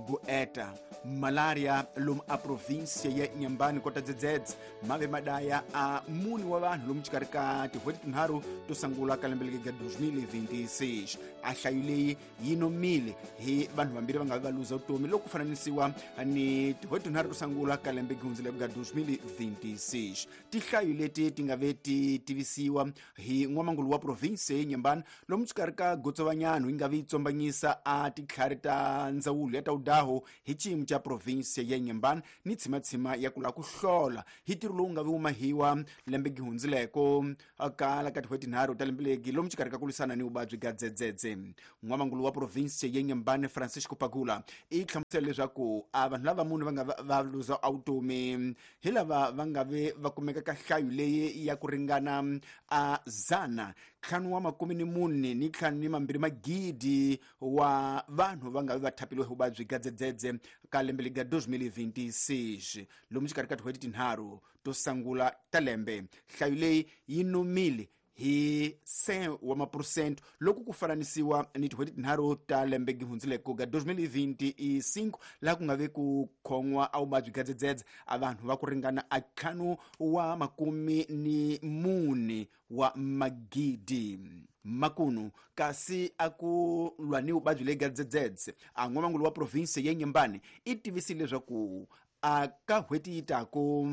Gugu eta malaria lomu a província ya Inhambane kota dzedzedze mave madaya a mune wa vanhu lomu xikarhi ka tin'hweti tinharhu to sungula ka lembe leri ga 2026. A nhlayo leyi yi nomile hi vanhu vambirhi va nga vi va luza vutomi loko ku fananisiwa ni tin'hweti tinharhu to sungula ka lembe gihundzileke ga 2026. Tinhlayo leti ti nga ve ti tivisiwa hi n'wamangulu wa province ya Inhambane lomu xikarhi ka gotsovanyano yi nga vi yi tsombanyisa a titlhari ta ndzawulo ya ta vudaho hi xiyimo xa province ya Inhambane ni tshimatshima ya ku lava ku hlola hi ntirho lowu nga vi wu mahiwa lembe gihundzileko kala ka tin'hweti tinharhu ta lembe legi lomu xikarhi ka ku lwisana ni vuvabyi bya dzedzedze. N'wamangulu wa province ya Inhambane Francisco Pagula i hlamusela leswaku a vanhu lava mune va nga va luza vutomi hi lava va nga ve va kumeka ka nhlayo leyi ya ku ringana a 144 2 magidi wa vanhu va nga ve va thapiliwe hi vuvabyi bya dzedzedze ka lembe leri ga 2026 lomu xikarhi ka tin'hweti tinharhu to sungula ta lembe. Nhlayo leyi yi nomile hi 100 wa maphurosente loko ku fananisiwa ni tin'hweti tinharhu ta lembe gihundzileko ga 2025 laha ku nga ve ku khon'wa a vuvabyi bya dzedzedze a vanhu va ku ringana a 454 wa magidi makunu. Kasi a ku lwa ni vuvabyi lebyi ga dzedzedze, a n'wamangulu wa province ya Inhambane i tivisile leswaku a ka n'hweti yi taku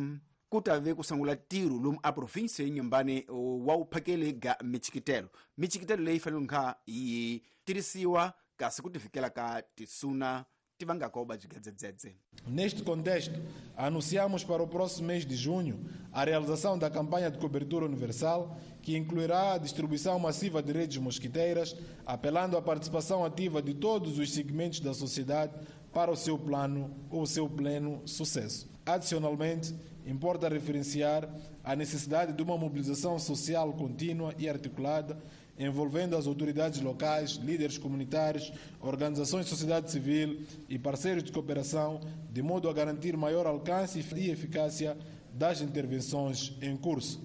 ku ta ve ku sungula ntirho lomu a province ya Inhambane wa vuphakeli ga michikitelo. Michikitelo leyi fanele kha yi tirhisiwa kasi ku tivikela ka tisuna ti vangaka vuvabyi bya dzedzedze. Neste contexto, anunciamos para o próximo mês de junho a realização da campanha de cobertura universal, que incluirá a distribuição massiva de redes mosquiteiras, apelando à participação ativa de todos os segmentos da sociedade para o seu plano ou o seu pleno sucesso. Adicionalmente, importa referenciar a necessidade de uma mobilização social contínua e articulada, envolvendo as autoridades locais, líderes comunitários, organizações de sociedade civil e parceiros de cooperação, de modo a garantir maior alcance e eficácia das intervenções em curso.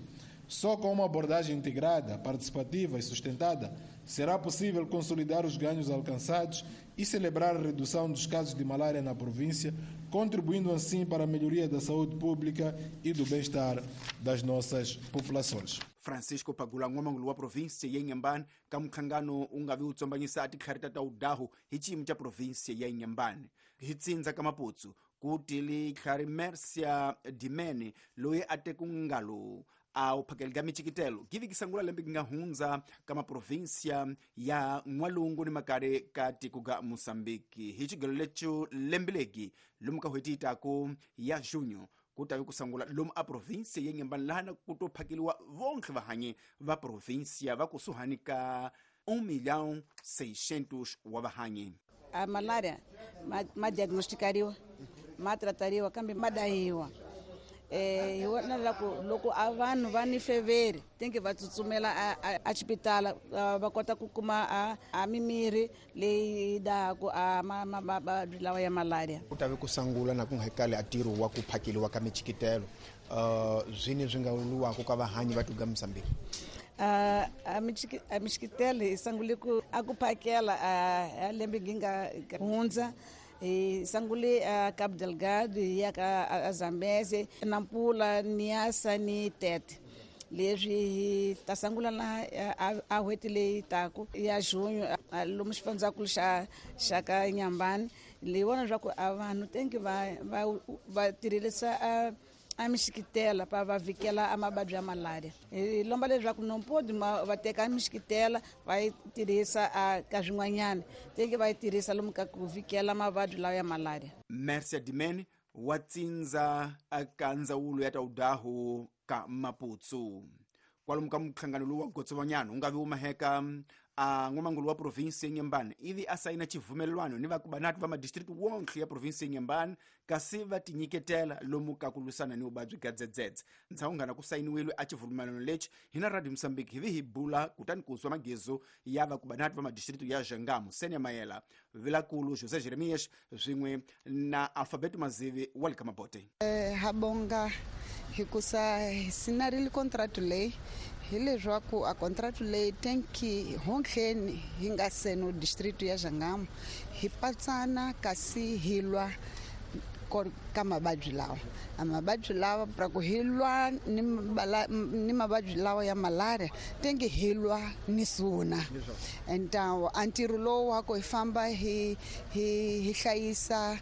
Só com uma abordagem integrada, participativa e sustentada será possível consolidar os ganhos alcançados e celebrar a redução dos casos de malária na província, contribuindo assim para a melhoria da saúde pública e do bem-estar das nossas populações. Francisco Pagula, n'wamangulu wa province ya Inhambane, ka mukhlangano wu nga vi wu tsombanyisa a titlhari ta udahu hi xiyimo xa province ya Inhambane. Hi tsindza ka Maputsu ku tili tlhari Mercia Dimene loyi a teku ngalo a wu phakeli ka michikitelo givi kisangula lembe ki nga hundza ka maprovinsia ya N'walungu ni makare ka tiko ga Mosambiki. Hi xigelo lecho lembe legi lomu ka n'hweti yi taku ya junho ku ta vi ku sungula lomu a provinsia ya Inhambane laha na ku to phakeliwa vonke vahanyi va provinsia va kusuhani ka 1 milhão 600 wa vahanyi. A malaria ma diagnosticariwa, ma tratariwa, kambe ma dahiwa. Hi vona loko loko a vanhu va ni feveri tinge va tsutsumela a xipitala, va kota ku kuma a mimirhi leyi dahaku a mavabyi lawa ya malaria. Ku ta ve ku sungula na ku nga kale a ntirho wa ku phakeliwa ka michikitelo, zwini swi nga luwaka ka vahanyi va tuga Mozambique? A michikitelo hi sungule ku a ku phakela a lembe gi nga hundza. Hi sungule a Cabo Delgado, hi ya ka a Zambeze, Nampula, Niassa ni Tete. Leswi hi ta sungula na a n'hweti leyi taku ya junho lomu xifundzankulu xa ka Inhambane. Leyi vona leswaku a vanhu tenki va tirhisa a mixikitela pa va vhikela a mavabyi ya malaria. Hi lomba leswaku nompodi va teka mixikitela va yi tirhisa a ka swin'wanyana, tenki va yi tirhisa lomu ka ku vhikela mavabyi lawa ya malaria. Mercia Dimene wa tsindza ka ndzawulo ya ta udahu ka Maputsu. Kwalomu ka mukhlangano lowu wa gotsovanyana wu nga vi wu maheka a n'wamangulu wa provinsi ya Inhambane ivi a sayina xivumelwano ni vakubanati va madistrikti wonke ya provinsi ya Inhambane kasi va tinyiketela lomu ka ku lwisana ni vuvabyi bya dzedzedze. Ndzhaku ngana ku sayiniwile a xivumelwano lexi hina Radio Mozambique hi vi hi bula kutani ku zwa magezo ya vakubanati va madistrikti ya Jangamo, Senia Mayela, Vilakulu José Jeremias swin'we na Alfabeto Mazivi wa le ka Mabote. Habonga hikusa hi sinarile contract leyi Hi leswaku a contract leyi tenki honhleni hi nga seno district ya Jangamo hi patsana kasi hi lwa ka mavabyi lawa. A mavabyi lawa pra ku hi lwa ni mavabyi lawa ya malaria tengi hi lwa ni suna. Então a ntirho lowu wa ku hi famba hi hi hlayisa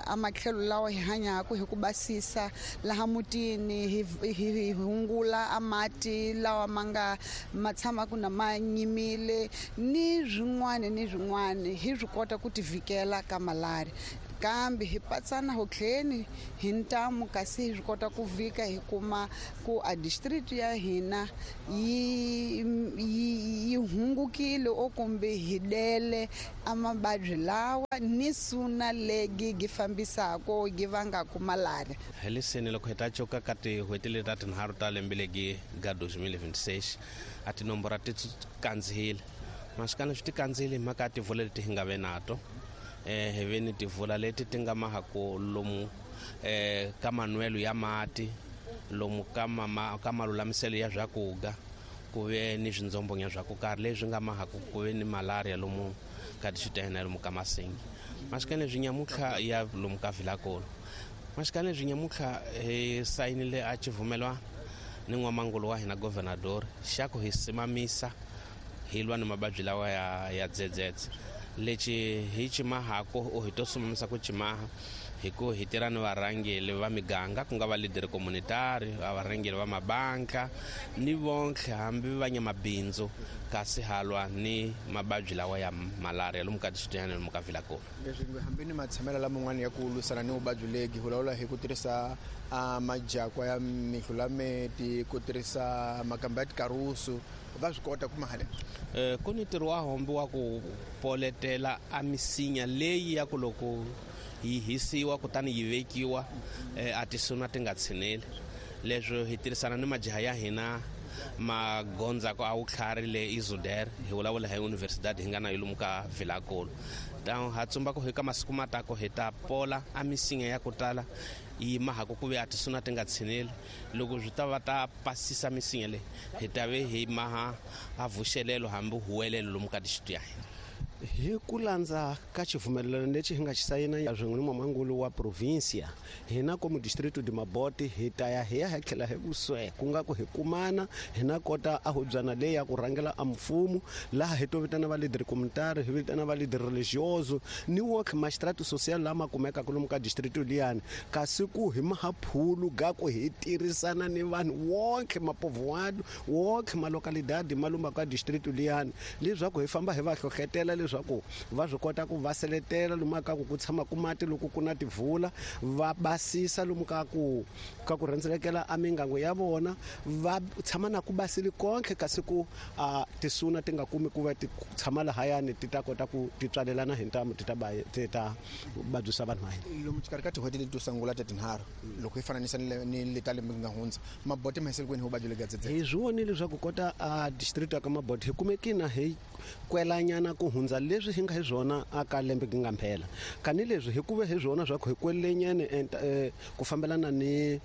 a matlhelo lawa hi hanyaka hi ku basisa laha mutini, hi hungula a mati lawa ma nga ma tshamaka na ma nyimile ni swin'wana ni swin'wana, hi swi kota ku tivikela ka malaria. Kambe hi patsana hotleni hi ntamu kasi hi swi kota ku vhika hi kuma ku a district ya hina yi hungukile o kumbe hi dele a mavabyi lawa ni suna legi gi fambisako gi vangaka malaria. Hi leseni loko hi ta coka ka tin'hweti leti ta tinharhu ta lembe legi ga 2026 a tinomboro ti kandzihile masikana swi ti kandzihile hi mhaka ya tivula leti hi nga ve nato. Hi ve ni tivula leti ti nga mahaku lomu ka manwelo ya mati, lomu ka malulamiselo ya swakudya, ku ve ni swindzombonya swa ku karhi leswi nga mahaku ku ve ni malaria lomu ka tixitena lomu ka Masingi. Masikana leswi nyamutlha ya lomu ka Vilakolo. Masikana leswi nyamutlha hi sayinile a xivumelwano ni n'wamangulu wa hina governador xa ku hi simamisa hi lwa ni mavabyi lawa ya dzedzedze. Lexi hi cimahako u hi to sumamisa ku cimaha hi ku hi tirha ni varhangeli va miganga, ku nga va leader communitary, va varhangeli va mabanka ni vontlhe hambi va nyamabindzu, kasi halwa ni mavabyi lawa ya malaria lomu ka district lomu ka Vilakolo. Leswi hambi ni matshamelo laman'wana ya ku lwisana ni vuvabyi legi hi vulavula hi ku tirhisa majakwa ya mihlulameti, ku tirhisa makamba ya tikarusu, va swi kota ku mahala. Ku ni ntirho wa hombi wa ku poletela a misinya leyi ya ku loko yi hisiwa kutani yi vekiwa a tisuna ti nga tshineli. Leswi hi tirhisana ni majaha ya hina magondzako a wutlhari le Izuder, hi vulavula hi universidad hi nga na yo lomu ka Vilakolo. Ha tsumba ku hi ka masiku matako hi ta pola a misinya ya ku tala yi mahaku ku ve a tisuna ti nga tshineli. Loko swi ta va ta pasisa misinya leyi hi ta ve hi maha a vuxelelo hambi huwelelo lomu ka district ya hina. Hi ku landza ka xivumelwano lexi hi nga xi sayina swin'we ni n'wamangulu wa provinsia, hina komu distrito de Mabote hi ta ya hi ya hi tlhela hi vuswe ku nga ku hi kumana hina kota a hubyana leyi ya ku rhangela a mfumo, laha hi to vitana va leader communitary, hi vitana va leader religioso ni work magistrate social lama kumekaka lomu ka distrito liyani, kasi ku hi mahaphulu ga ku hi tirhisana ni vanhu wonke mapovoado wonke malocalidade malumba ka distrito liyani, leswaku hi famba hi va hlohletela leswaku va swi kota ku va seletela lomu ka ku tshama ku mati loko ku na tivula, va basisa lomu ka ku rhendzelekela a mingango ya vona, va tshama na ku basile konke kasi ku tisuna ti nga kumi ku va ti tshama lahayani ti ta kota ku ti tswalelana hi ntamu ti ta vabyisa vanhu va hina. Lomu xikarhi ka tin'hweti leti to sungula ta tinharhu loko hi fananisa ni leta lembe nga hundza, Mabote ma hisele kwini hi vuvabyi lebyi dzedzedze? Hi swi vonile leswaku kota a district ya ka Mabote hi kumekina hi kwelanyana ku hundza leswi hi nga hi swona aka lembe gi nga mphela, kani leswi hi kuve hi swona swa ku hi kwelenyene ku fambelana ni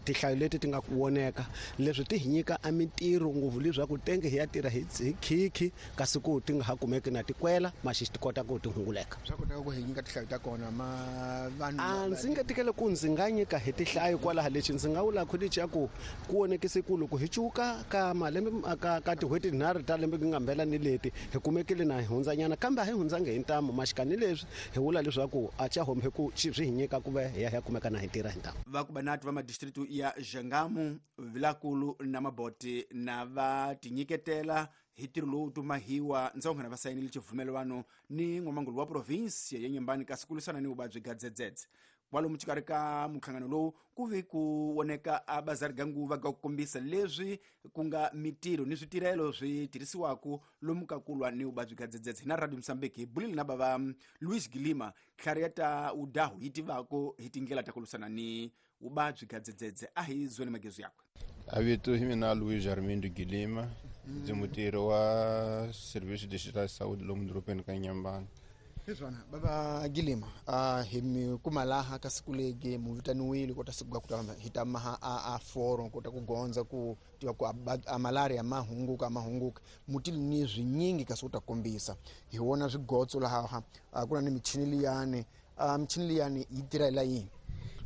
tinhlayo leti ti nga voneka, leswi ti hi nyika a mintirho ngopfu leswaku tenge hi ya tirha hi khikhi kasi ku ti nga ha kumeki na tikwela maxi ti kota ku ti hunguleka. Swa kotaka ku hi nyika tinhlayo ta kona ma vanhu? A ndzi nga tikele ku ndzi nga nyika hi tinhlayo kwalaha, lexi ndzi nga vulaka lexi ya ku vonekise ku loko hi cuka ka malembe ka tin'hweti tinharhu ta lembe gi nga mphela ni leti hi kumekile na hi hundzanyana, kambe a hi hundzangi hi ntamu maxikani leswi hi vula leswaku a xa hombe ku swi hi nyika ku va hi ya hi ya kumeka na hi tirha hi ntamu. Vakubanati va madistritu ya Jangamo, Vilakulu na Mabote na va tinyiketela hi ntirho lowu tumahiwa ndzonghana va sayinile xivumelwano ni n'wamangulu wa provinsia ya Nyembani kasi ku lwisana ni vuvabyi bya dzedzedze. Kwalomu xikarhi ka minhlangano lowu ku ve ku voneka a bazari ga nguva ga ku kombisa leswi ku nga mitirho ni switirhelo swi tirhisiwaka lomu ka ku lwa ni vuvabyi bya dzedzedze. Hina Radio Mozambique hi bulile na bava Luis Gilima, tlhari ya ta udahu yi tivako hi tindlela ta ku lwisana ni vuvabyi bya dzedzedze. A hi zweni magezu yakwe. A vito hi mina Luis Armindo Gilima, ndzi mutirhi wa Serviço Distrital de Saúde lomu dorobeni ka Nyambani. Hiswona baba Gilima, hi mi kuma laha ka siku legi mu vitaniwile kota siku ga ku hi ta maha a forum kota ku gondza ku tiva ku a malaria ma hunguka mutili ni swinyingi kasi u ta kombisa hi wona swigotso laha ku na ni michini liyani, michini liyani yi tirha la yini?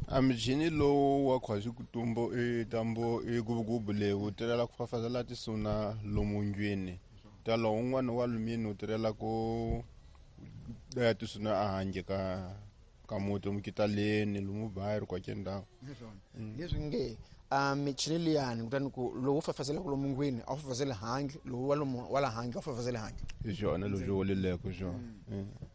A michini lowu wa khwazi kutumbo i tambo i gubugubu leyi wu tirhela ku fafazela tisuna lomu ndlwini, talo un'wana wa lumini wu tirhela ku daya tisuna a handle ka muti mukitaleni lomu bayiri kwake ndhawu. Leswi nge a michini liyani kutani ku lowu fafazelaka lomu ndlwini a wu fafazeli handle, lowu wa la handle a wu fafazeli handle. Hi swona leswi woleleko swona.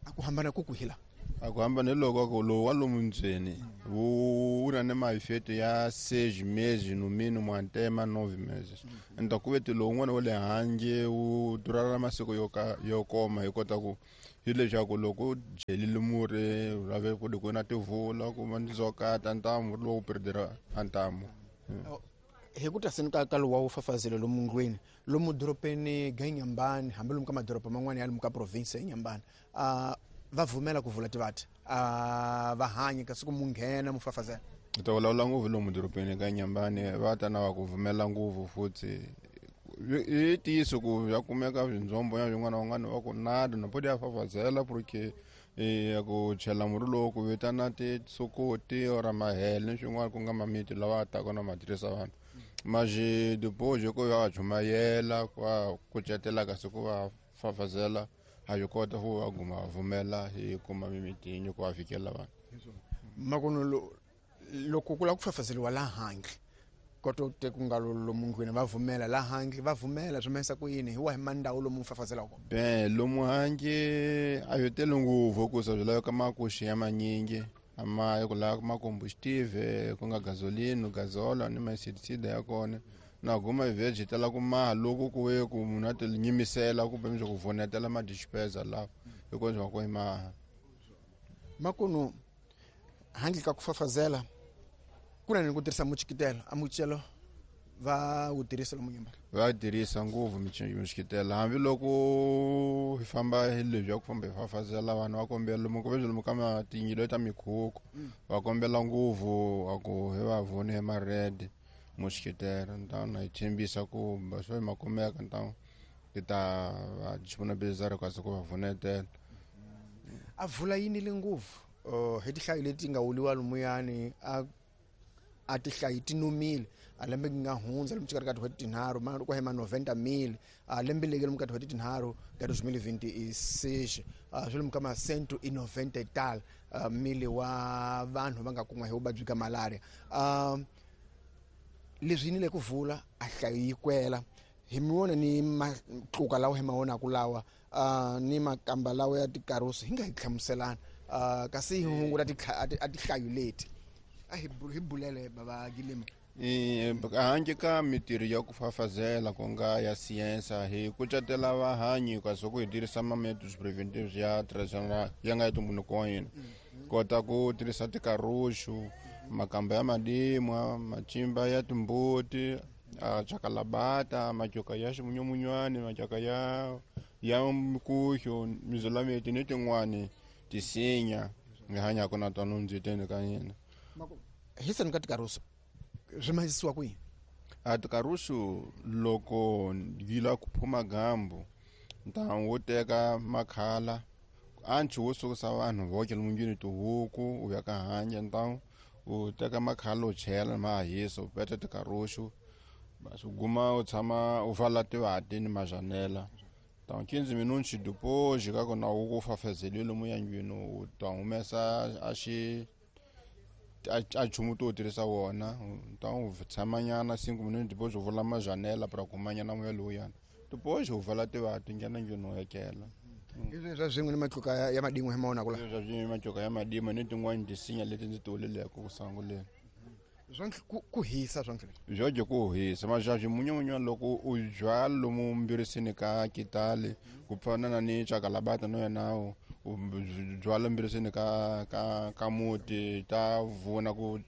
A ku hambana ku kwihila? A ku hambana loko ku lowu wa lomu ndzeni wu na ni maifeto ya 6 meses no mínimo até 9 meses. Então ku veti lowu un'wana wa le handle wu durara masiku yo koma hi kota ku hi leswaku loko dyelile murhi lave ku ku na tivula ku ma ndzokata ntamu lowu perdera ntamu. Hi ku ta seni ka lowu wa wu fafazela lomu ndlwini lomu doropeni ga Inhambane, hambi lomu ka madoroba man'wana ya lomu ka province ya Inhambane, va vumela ku vula tivati va hanya kasi ku mu nghena mu fafazela. Ta vulavula ngopfu lomu doropeni ka Inhambane va ta na va ku vumela ngopfu futhi i ntiyiso ku ya kumeka swindzombo ya swin'wana van'wana va ku nada na podi ya fafazela porque ya ku chela murhi lowu ku vitana tisokoti or mahele ni swin'wana ku nga mamiti lawa taka na ma tirhisa vanhu mas depois ku va chumayela ku va kucetela kasi ku va fafazela a yi kota ku va guma vumela hi kuma mimitini ku va fikela vanhu. Makono loko ku lava ku fafazeliwa la handle koto te ku nga lomu ndlwini va vumela la handle va vumela swi mahisa ku yini hi wahi mandhawu lomu fafazelaka kona? Ben lomu handle a yo tele ngopfu ku sa swi laveka makuxi ya manyingi ama ku lava ma combustible ku nga gasoline gasola ni ma-insecticide ya kona na guma veg tala ku maha loko ku ve ku munhu a ti nyimisela kumbe mi ku vonetela ma dispenser lawa hi kona swa ku hi maha. Makuno handle ka ku fafazela ku na ni ku tirhisa muchikitelo, a muchikitelo va wu tirhisa lomu Inhambane? Va tirhisa ngopfu muchikitelo hambiloko hi famba hi lebyi ya ku famba hi fafazela vanhu va kombela lomu ku lomu ka matinyilo ta mikhukhu va kombela ngopfu a ku hi va vone hi ma-red muchikitelo ntawna hi tshembisa ku swo ma kumeka ntawu ti ta va disponibilizar kasi ku va vunetela. A vula yini le ngopfu hi tihlayo leti nga wuliwa lomuyani a tihlayi ti nomile a lembe nga hundza lomu xikarhi ka tin'hweti tinharhu ma ku hema 90,000 a lembe leki lomu ka tin'hweti tinharhu ka 2026 swi lomu ka ma 190 tal mili wa vanhu va nga kun'wa hi vuvabyi ka malaria. Leswi yini le ku vula a hlayo yi kwela hi mi wona ni matluka lawa hi ma vonaku lawa ni makamba lawa ya tikarusi hi nga hi hlamuselana kasi hi hunguta a tihlayo leti a hi bulele baba Gilima. Handle ka mitirho ya ku fafazela ku nga ya siyensa hi kucetela vahanyi kasi ku hi tirhisa ma-methods preventives ya traditional ya nga ya ntumbuluko wa hina kota ku tirhisa tikaruxu makamba ya madimwa macimba ya timbuti chakalabata matyoka ya ximunyamunywani matyoka ya mikuxo mizulameti ni tin'wani tisinya hi hanyaka na tona ndziteni ka hina. Hi seni ka tikarusu swi mahisiwa kwihi? A tikarusu loko yi lava ku phuma gambu ntamu wo teka makhala anchi wo sukusa vanhu voke lomu ndlwini tihuku u ya ka handle ntamu u teka makhala u chela ma hisa u peta tikarusu basi u guma u tshama u vala tivati ni majanela ntamu 15 minutos depois ka kona u ku fafazeliwe lomu ya ndlwini u ta humesa a xi a nchumu to tirhisa wona ntamu u tshamanyana 5 minutos depois u vula majanela para kumanyana moya lowuyana depois u vala tivati nghena ndlwini u etlela. Leswi swa swin'we ni matluka ya madin'we hi ma vonaka la? Leswi swa matluka ya madin'we ni tin'wani tisinya leti ndzi ti vuleleke ku sunguleni. Ku hisa swa byo ku hisa mazhazi munyamunya loko u byala lomu mbirisini ka kitali ku fana na ni chakalabata no yena u byala mbirisini ka muti ta vuna ku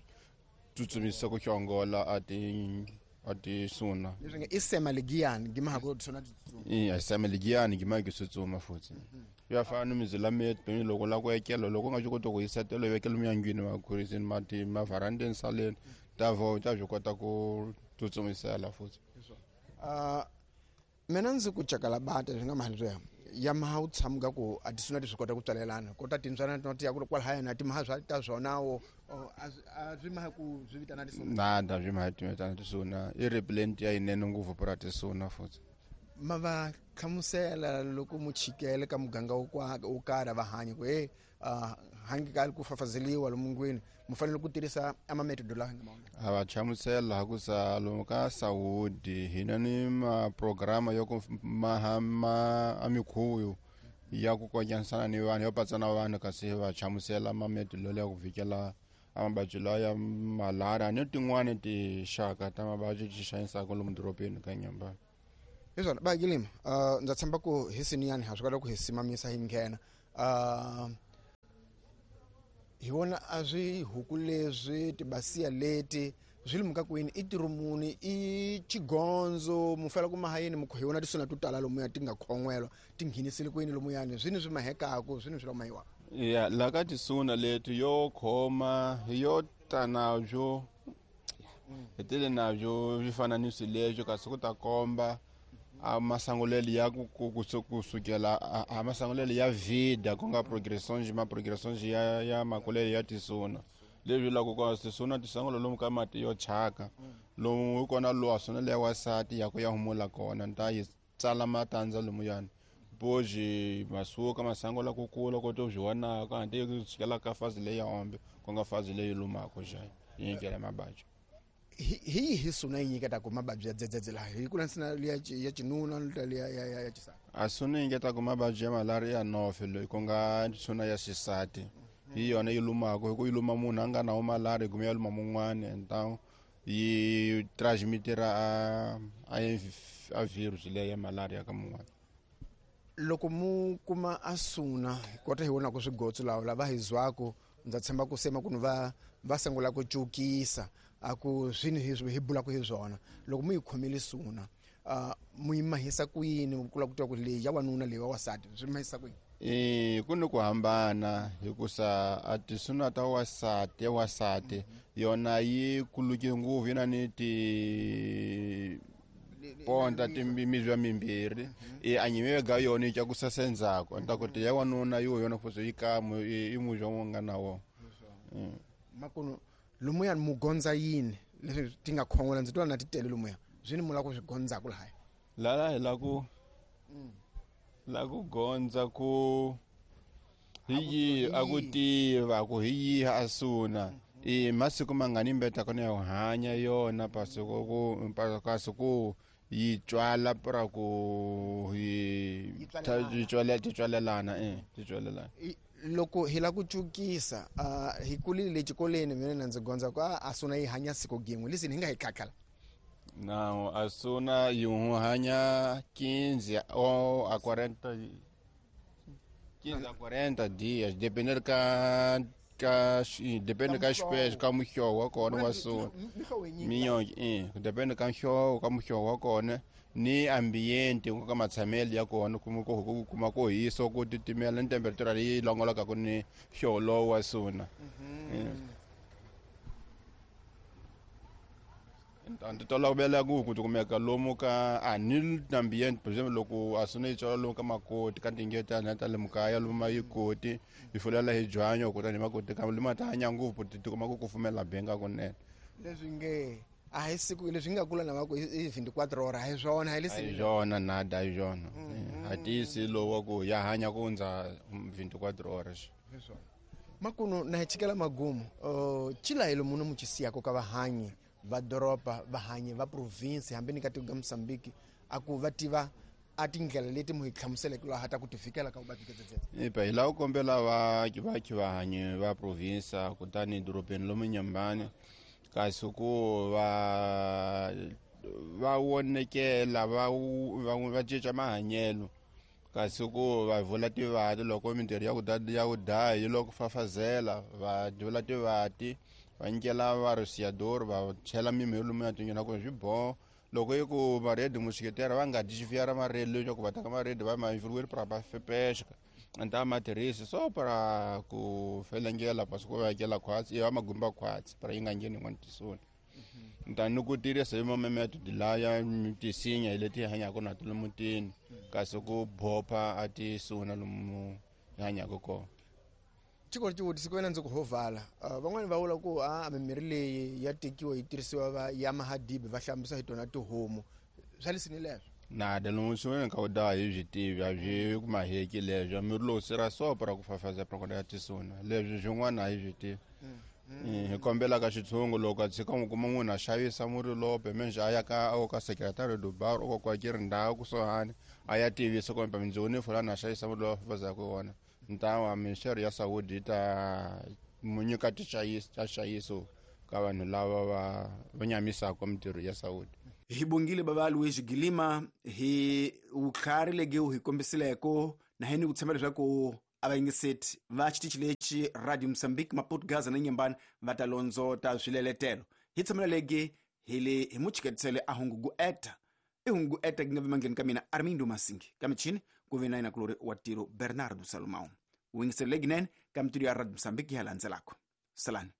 tsutsumisa ku xongola a ti a tisuna. Leswi nge i sema ligiyani gimaha ku tisuna titsutsuma. I sema ligiyani gimaha ku tsutsuma futhi. Ya fana ni mizila methu loko la ku ekela loko u nga swi koti ku yisetela vekela miyangwini makhurisini mati mavarandeni saleni ta vo ta swi kota ku tsutsumisela futhi. Mina ndzi ku cakala bata swi nga mali swi ya maha u tshamuka ku a tisuna ti swi kota ku tswalelana kota timbyana ti ya ku kwalahaya na timaha swa ta swona wo a swi maha ku swi vitana tisuna nada swi maha ti vitana tisuna i repellent ya yinene ngopfu pura tisuna futhi. Ma va hlamusela loko muchikele ka muganga wo karhi va hanyi ku he hangi ka ku fafazeliwa lomungwini mu fanele ku tirhisa ama metodo lawa nga maona. A va hlamusela ku sa lomu ka Saudi hina ni ma programa yo ku maha ma amikhuyu ya ku konyanisana ni vanhu yo patsana vanhu kasi va hlamusela ma metodo ya ku vikela amababyi lawa ya malaria ni tin'wani tinxaka ta mavabyi ti xanisaka lomu dorobeni ka Nyambani. Hi swona ba Gilima, ndza tshemba ku hi siniyani ha swi kota ku hi simamisa hi nghena. Hi vona a swi huku leswi tibasiya leti swi limuka kwini i tirumuni i chigonzo mu fela ku mahayini mukho hi vona tisuna to tala lomuya ti nga khon'welwa ti nghenisile kwini lomuyani swini swi mahekaku swini swi lomayiwa. Ya la ka tisuna leti yo khoma yo ta nabyo hi tele nabyo swi fana ni swileswo kasi ku ta komba a masangulelo ya ku kusukela a masangulelo ya vida ku nga progression ma progression ya makulelo ya tisuna leswi la ku ka tisuna tisangulo lomu ka mati yo chaka lomu hi kona lowa suna leya wasati ya ku ya humula kona nta yi tsala matandza lomuyani boji masuka masango ku kula ko to swi vonaka hanti ku tshikela ka fazi leyi ya ombe ku nga fazi leyi lumaka xa yi nyikela mababyi. Hi hi suna yi nyiketaka mababyi ya dzedzedze laha hi ku landzela liya ya xinuna liya ya xisati. A suna yi nyiketaka mababyi ya malaria nofe loyi ku nga suna ya xisati hi yona yi lumaka hi ku yi luma munhu a nga na malaria kumbe ya luma mun'wani enta yi transmitera a virus leyi ya malaria ka mun'wani. Loko mu kuma a suna kota hi vonaka swigotso lawa lava hi zwaku ndza tshemba ku sema ku va sungula ku cukisa a ku swini hi bulaka hi swona loko mu yi khomile suna mu yi mahisa ku yini ku lava ku tiva ku leyi ya wanuna leyi wa wasati swi mahisa ku yini? Ku ni ku hambana hikusa a tisuna ta wasati ya wasati yona yi kuluke ngopfu yi na ni ti ponta timizwa mimbirhi a nyime ga yona yi tlakusa sendzhaku nta ku ti ya wanuna yo yona futhi yi kamu i muzwa wu nga na wona. Makuno lomuyani mugondza yini leswi ti nga khon'wela ndzi twa na ti tele lomuya swi ni mu lava ku swi gondzaku lahaya lala hi la ku la ku gondza ku hi yihi a ku tiva ku hi yihi a suna i masiku mangani mbeta kona ya ku hanya yona pasi ku kasi ku yi tswala pra ku hi ti tswalelana ti tswalelana. Loko hi la ku cukisa hi kulile xikolweni mina na ndzi gondza ku a suna yi hanya siku gin'we leswi hi nga hi khakhela. Não, a suna yi hanya 15 ou a 40 15 a 40 dias, dependendo ka depende ka espécie ka muhlovo wa kona wa suna minyonge depende ka muhlovo ka muhlovo wa kona ni ambiente ku ka matshamelo ya kona ku kuma ku hisa ku titimela ni temperatura leyi longolokaka ni hlovo lowu wa suna. Nti tolovela ku tikumeka lomu ka a ni ambiente por exemple loko a suna yi tswala lomu ka makoti ka tingetana ta le mukaya lomu ma yi koti yi fulela hi byanyo kutani makoti ka lima ta hanya ngopfu ti tikuma ku kufumela benga kunene. Leswi nge a hi siku leswi nga kula na va ku i 24 horas hi swona hi leswi hi swona nada hi swona a tiyisi lowa ku ya hanya ku hundza 24 horas. Makuno na hi chikela magumu chilayelo muno muchisiyako ka vahanyi va doroba vahanyi va province hambi ni ka tiko ka Mozambique a ku va tiva a tindlela leti mu hi hlamuseleke laha ta ku ti fikela ka vuvabyi bya dzedzedze. Ipa hi lava ku kombela vaaki vahanyi va province kutani dorobeni lomu Nyambani kasi ku va vonekela va cinca mahanyelo kasi ku va vula tivati loko mintirho ya ku daya yi loko fafazela va vula tivati Va nyikela varosiador va chela mimirhi lomu ya tinyoni ku swi boho loko i ku maredi musiketera va nga desviar maredi leswaku va teka maredi va ma influir para va pesca nta ma tirhisi so para ku felengela pasi ku vekela khwatsi ya magumba khwatsi para yi nga ngheni yin'wana tisoni nta ni ku tirhisa hi mamemetodi laya tisinya hi leti hi hanyaka na to mutini kasi ku bopha a tisuna lomu hi hanyaka kona. Xikolo xivutiso ku ve na ndzi ku hovala van'wani va vula ku a mimirhi leyi ya tekiwa yi tirhisiwa va ya mahadibi va hlambisa hi tona tihomu swa lesini leswo. Nada lomu swi ka u da hi byi tivi a byi ku maheki leswo mirhi lowu sira so para ku fafaza para ya tisuna leswi swin'wana a hi byi tivi. Hi kombela ka xitshungu loko a tshika n'wi kuma munhu a xavisa murhi lope menje a ya ka o ka secretary do bar o kwa ke ri ndhawu kusuhani a ya tivisa kumbe mindzoni fulani a xavisa murhi lowu fafazaka wona ntawa ministeri ya saudi yi ta mu nyika xayiso ka vanhu lava va nyamisaka mintirho ya saudi. Hi bongile bava Luiz Gilima hi vutlhari legi hi kombisileko na hini ku tshemba leswaku a va yingiseti va xitichi lexi Radio Mozambique Maputo Gaza na Nyembani va ta londzota swileletelo. Hi tshamela legi hi le hi muchiketisele a hungugu eta i hungugu eta ki nga vimangeni ka mina Armindo Masingi ka michini ku ve na yena kulori wa tiro Bernardo Salomão. U yingisele leginene ka mintirho ya Radio Mozambique ya landzelako. Salani.